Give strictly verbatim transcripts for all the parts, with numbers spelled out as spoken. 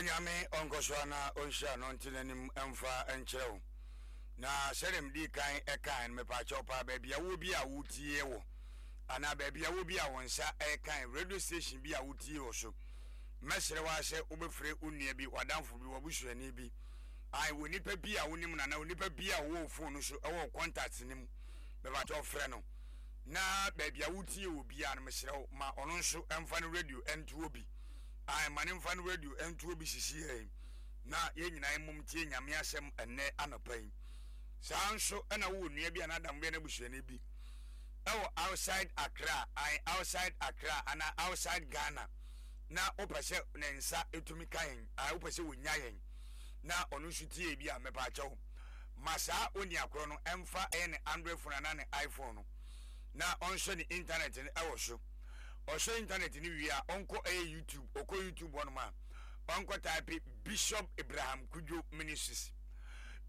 Onyame ɔnkɔ so ana ɔnhyira no nte n'anim ɛmfa nkyerɛ wo. Na sɛdeɛ medii kan ɛkae no, mepaakyɛw paa, baabi a wɔ bi a wotie wɔ anaa baabi a wɔ bi a wo nsa ɛkan radio station bi a wotie wɔ so, mɛsrɛ wo sɛ wobɛfrɛ wo nua bi, w'adamfo bi, w'abusuani bi, ai, wɔ nipa bi a wonim no anaa onipa bi a wɔwɔ wo phone no so, ɛwɔ wo contact no mu, mepaakyɛw frɛ no. Na baabi a wotie wɔ biara no, mesrɛ wo, ma ɔno nso ɛmfa no radio ɛntoɔ bi. Ai, ma ne mfa no radio ɛntoɔ bi sisi yɛn na yɛn nyinaa mmom tie Nyame asɛm ɛnnɛ anɔpa yi. Saa nso ɛna wowɔ nua bi anaa adamfo bi anaa abusuani bi ɛwɔ outside Accra, ai, outside Accra anaa outside Ghana, na wopɛ sɛ ne nsa etumi ka yɛn, ai, wopɛ sɛ wonya yɛn na ɔno nso tie bi a, mepaakyɛw, ma saa oni akorɔ no ɛmfa ɛyɛ ne Android phone anaa ne iPhone no na ɔnhwɛ ne internet no ɛwɔ so. Ɔhwɛ internet no wie a, ɔnkɔ ɛyɛ YouTube. Ɔkɔ YouTube hɔnom a, ɔnkɔ type Bishop Abraham Kudwo Ministries,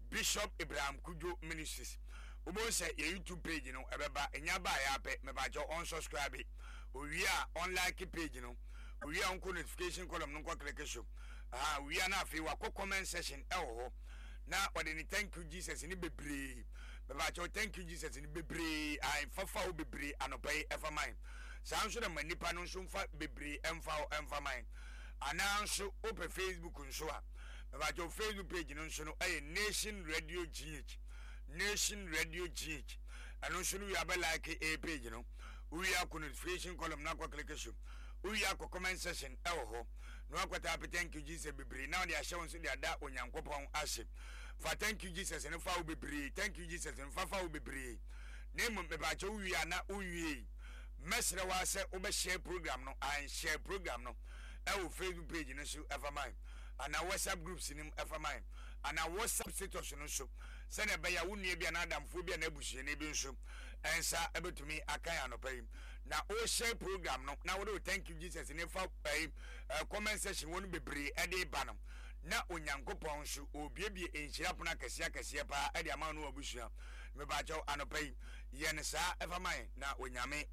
Bishop Abraham Kudwo Ministries. Wobɛhu sɛ yɛ YouTube page no ɛbɛba. Ɛnya ba a yɛapɛ, mepaakyɛw, ɔnsubscribe. Owie a, ɔnlike page no. Owie a, ɔnkɔ notification column no, nkɔ click so. Aha owie a, na afei wakɔ comment section ɛwɔ hɔ na ɔde ne "Thank you Jesus" ne bebree. Mepaakyɛw, "Thank you Jesus" ne bebree fafa wo bebree anɔpa yi ɛfa man. Saa nso na ma nipa no nso mfa bebree ɛmfa wo ɛmfa man. Anaa nso wopɛ Facebook nso a, mepaakyɛw, Facebook page no nso no ɛyɛ Nation Radio G H, Nation Radio G H. Ɛno nso no, wie abɛ like a page no. Wowie akɔ notification column na akɔ click so. Wowie akɔ comment section ɛwɔ hɔ na wakɔ type "Thank you Jesus" bebree na wɔde ahyɛ wo nso de ada Onyankopɔn ase. Fa "Thank you Jesus" no fa wo bebree, "Thank you Jesus" no fa fa wo bebree. Na mmom mepaakyɛ, wowie a na wonwie, mɛsrɛ wa sɛ wobɛhyɛ program no, anhyɛ program no ɛwɔ Facebook page no so ɛfa man anaa WhatsApp groups no mu ɛfa man anaa WhatsApp status no so, sɛnea ɛbɛyɛ a wo nua bi anaa adamfoɔ bi anaa abusuani bi nso ɛnsa ɛbɛtumi aka yɛn anɔpa yi. Na wohyɛ program no na wode wo "Thank you Jesus" ne fa ɛyi ɛ comment section wɔ no bebree ɛde ba no, na Onyankopɔn nso obiebie nhyira pono akɛseɛ akɛseɛ paa ɛde ama no abusua. Mepaakyɛw, anɔpa yi yɛ no saa ɛfa man na Onyame.